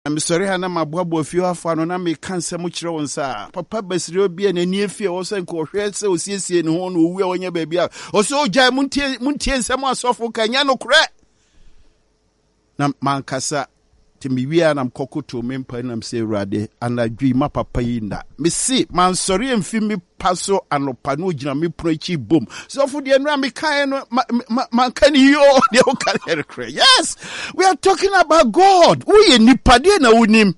Na mesɔre a na maboaboa fie hɔ afa no na meka nsɛm kyerɛ wɔn saa. Papa Basireo bi a n'ani afi a ɛwɔ sɛ nka ɔhwɛ sɛ osiesie ne ho na owu a ɔnyɛ baabi a ɔsɛ ogyae montie montie nsɛm asɔfo ka nyɛ nokorɛ. Na mankasa nti mewie a na mekɔkotow me mpa nam sɛ Awurade anadwo yi ma papa yi nna. Mese mansɔre amfi me pa so anɔpa na ogyina me pono akyi bom. Sɔfo deɛ nnora mekaeɛ no manka ne yie o deɛ woka no yɛ nokorɛ. Yes, we are talking about God. Woyɛ nipa deɛ na wonim.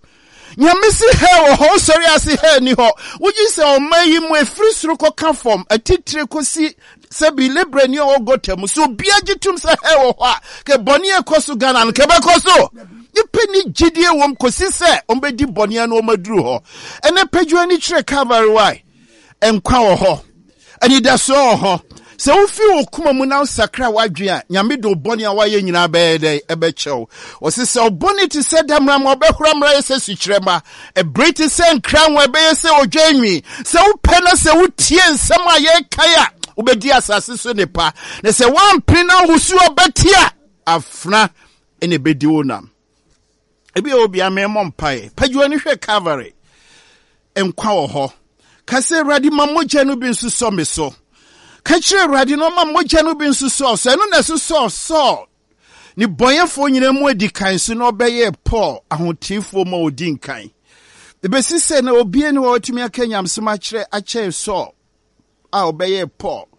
Nyame se hell wɔ hɔ, wosɔre ase hell ni hɔ. Wogye sɛ ɔma yi mu ɛfiri soro kɔka fam, atitire kɔsi sɛ bi lebrani a ɔwɔ gɔta mu. So obiara gye tom sɛ hell wɔ hɔ a, kɛ bɔne a ɛkɔ so Ghana no kɛbɛkɔ so. Nipa ni gyidie wɔm kɔsi sɛ ɔmbɛdi bɔne ano ɔmaduru hɔ. Ɛnɛ pɛdwo ani kyerɛ Calvary why? Nkwa wɔ hɔ. Anidasoɔ wɔ hɔ. Sɛ wofi wo koma mu na wosakra w'adwene a, Nyame de wo bɔne a woayɛ nyinaa bɛyɛ dɛn? Ɛbɛkyɛ wo. Ɔse sɛ wo bɔne te sɛ damena ma ɔbɛhora mmra yɛ sɛ sukyerɛmma. Ɛbere te sɛ nkranwa ɛbɛyɛ sɛ odwan nwi. Sɛ wopɛ na sɛ wotie nsɛm a yɛrekae a, wobɛdi asase so nnepa. Na sɛ woampene na wosu ɔbɛte a, afena na ɛbɛdi wo nam. Ebi a obi a memmɔ mpaeɛ. Pagya w'ani hwɛ Calvary. Nkwa wɔ hɔ. Ka sɛ, Awurade, ma mogya no bi nsosɔ me so. Ka kyerɛ Awurade na ɔma mogya no bi nsosɔ so. Ɛno na ɛsosɔɔ Saul ne bɔnyɛfoɔ nyinaa mu adi kan so na ɔbɛyɛɛ Paul ahoteefoɔ mu a ɔdi nkan. Ɛbɛsi sɛ na obie ne hɔ a ɔtumi aka nyamesɛm akyerɛ akyɛn Saul. a ɔbɛyɛɛ Paul.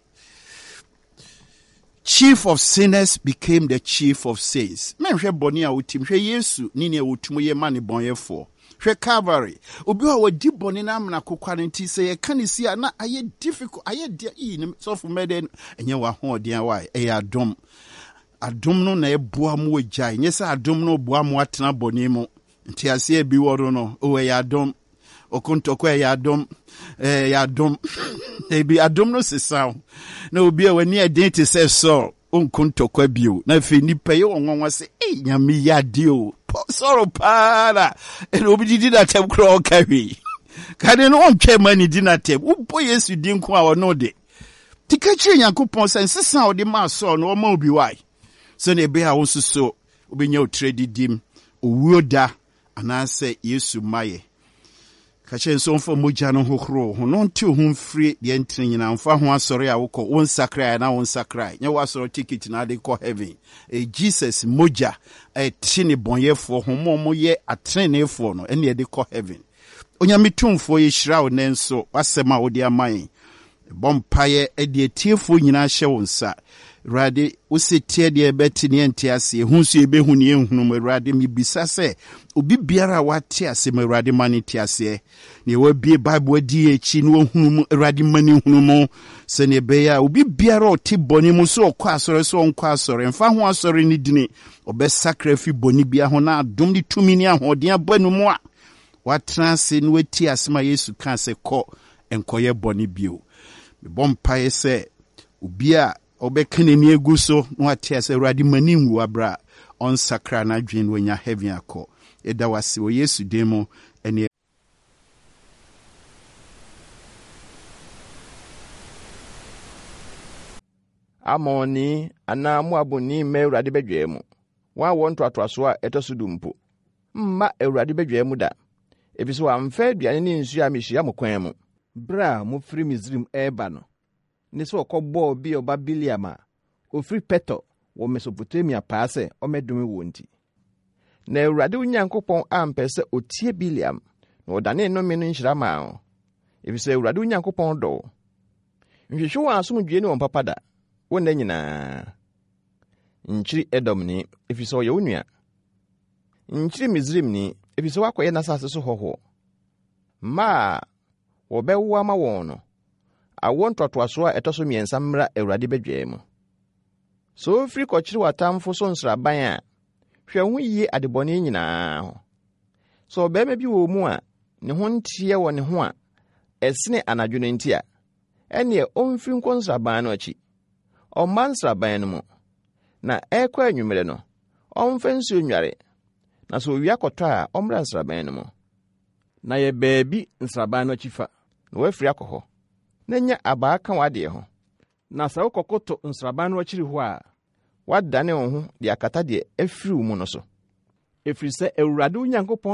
Chief of sinners became the chief of saints. Mɛnhwɛ bɔne a wotim, hwɛ Yesu ne nea wɔtum yɛ ma ne bɔnyɛfoɔ. Hwɛ Calvary. Obi a wadi bɔne no amena kokwa no nti sɛ yɛka ne si a na ayɛ difficult, ayɛ deɛ iyi ne sɔfo mɛdɛ no ɛnyɛ w'ahoɔden a wae, ɛyɛ adom. Adom no na ɛboa mo agyae, nyɛ sɛ adom no boa mo atena bɔne mu. Nteaseɛ bi wɔ no no, o ɛyɛ adom. Okontɔkɔ ɛyɛ adom, ɛyɛ adom. Ebi adom no sesa wo. Na obi a w'ani ɛden te sɛ Saul, onko ntɔkwa bio. Na afei nipa yɛ wɔn nwanwa sɛ, ei nyame yɛ adeɛ o. Saul paa na ɛna obi didi n'atɛm koraa ɔka hwee. Kane no ɔntwɛn ma ne di n'atɛm. Wobɔ Yesu din nko a ɔno de. Ti ka kyerɛ Nyankopɔn sɛ nsesa a ɔde maa Saul no ɔma obi wae. Sɛnea ɛbɛyɛ a wo nso so Wobɛnya wo tiri adidim owuo da anaasɛ Yesu mmayɛ. Ka kyerɛ no sɛ ɔmfa mogya no nhohoro wo ho na ɔnte wo ho mfiri deɛ ntene nyinaa. Mfa ho asɔre a wokɔ, wo nsakrae anaa wo nsakrae. Nyɛ w'asɔre ticket na ade kɔ heaven. Ɛyɛ Jesus mogya a ɛte ne bɔnyɛfoɔ ho ma wɔyɛ ateneneefoɔ no ɛne ɛde kɔ heaven. Onyame Tumfoɔ yɛhyira wo nnɛ nso w'asɛm a wode ama yɛn. Mebɔ mpaeɛ de atiefoɔ nyinaa hyɛ wo nsa. Awurade, wo se teɛ deɛ yɛbɛte ne yɛnte aseɛ, hu nso yɛbɛhu ne yɛnhunu mu. Awurade, mebisa sɛ obi biara a wate ase ma Awurade ma no nte aseɛ. Nea wabie Bible adi yɛn akyi na wahunu mu, Awurade ma no nhunu mu. Sɛnea ɛbɛyɛ a obi biara a ɔte bɔne mu sɛ ɔkɔ asɔre sɛ ɔnkɔ asɔre, mfa ho asɔre no dini, ɔbɛsakra afi bɔne biara ho na adom ne tumi ne ahoɔden aba no mu a watena ase na watie asɛm a Yesu kaa sɛ kɔ nkɔyɛ bɔne bio. Mebɔ mpaeɛ sɛ obi a ɔbɛka n'ani agu so na wate ase Awurade ma ne nwu aberɛ a ɔnsakra n'adwene na wanya heaven akɔ. Yɛda wo ase wɔ Yesu din mu ɛne. Amonni anaa Moabni mma Awurade badwa mu, wɔn awoɔ ntoatoasoɔ a ɛtɔ so du mpo. Mma Awurade badwa mu da, efisɛ wamfa aduane ne nsuo ammehyia mo kwan mu. Berɛ a mofiri Misraim reba no, ne sɛ wɔkɔbɔɔ Beor ba Bileam a ɔfiri Petor wɔ Mesopotamia paa sɛ ɔmmɛdome woɔ nti. Na Awurade wo Nyankopɔn ampɛ sɛ ɔtie Bileam, na ɔdanee nnome no nhyira maa wo, efisɛ Awurade wo Nyankopɔn dɔ wo. Nhwehwɛ wɔn asomdwoe ne wɔn papa da, wo nna nyinaa. Nkyiri Edomni, efisɛ ɔyɛ wo nua. Nkyiri Misraimni, efisɛ woakɔyɛ n'asase so hɔhoɔ. Mma a wɔbɛwo ama wɔn no, awoɔ ntoatoasoɔ a ɛtɔ so mmiɛnsa mmra Awurade badwa mu. Sɛ wofiri kɔkyere w'atamfo so nsraban a, hwɛ wo ho yie adebɔne nyinaa ho. Sɛ ɔbarima bi wɔ mu a ne ho nteɛ wɔ ne ho a ɛsene anadwo no nti a, ɛnneɛ ɔmfiri nkɔ nsraban no akyi. Ɔmma nsraban no mu, na ɛrekɔ anwummerɛ no, ɔmfa nsuo nnware, na sɛ owia kɔtɔ a, ɔmmra nsraban no mu. Na yɛ baabi nsraban no akyi fa, na woafiri akɔ hɔ, na nya abaa ka w'adeɛ ho. Na sɛ wokɔkoto nsraban no akyiri hɔ a, woadane wo ho de akata deɛ afiri wo mu no so. Ɛfiri sɛ Awurade wo Nyankopɔn.